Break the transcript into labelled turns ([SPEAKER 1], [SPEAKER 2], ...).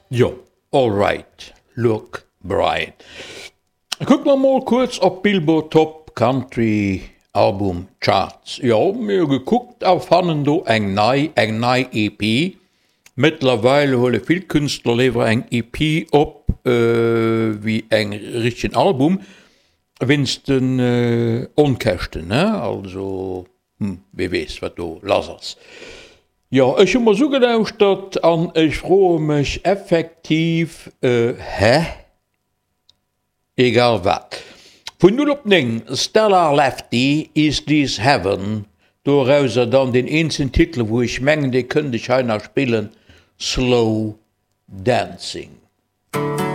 [SPEAKER 1] Jo, all right, Luke Bryan. Kucke mer mol kuerz op d'Billboard Top Country Album Charts. Jo, mir hu gekuckt a fannen do eng nei, eng nei EP. Mëttlerweil huele vill Künstler léiwer eng EP op wéi eng richtegen Album, wéinst den Onkäschten, ne? Also, hm, wee weess wat do lass ass. Jo, ech hu mer s'ugelauschtert an ech froe mech effektiv, hä? Egal wat. Vun 0 op 9, Stellar Lefty, Is This Heaven, dorauser dann deen eenzen Titel wou ech mengen dee kënnt ech hei nach spillen, Slow Dancing.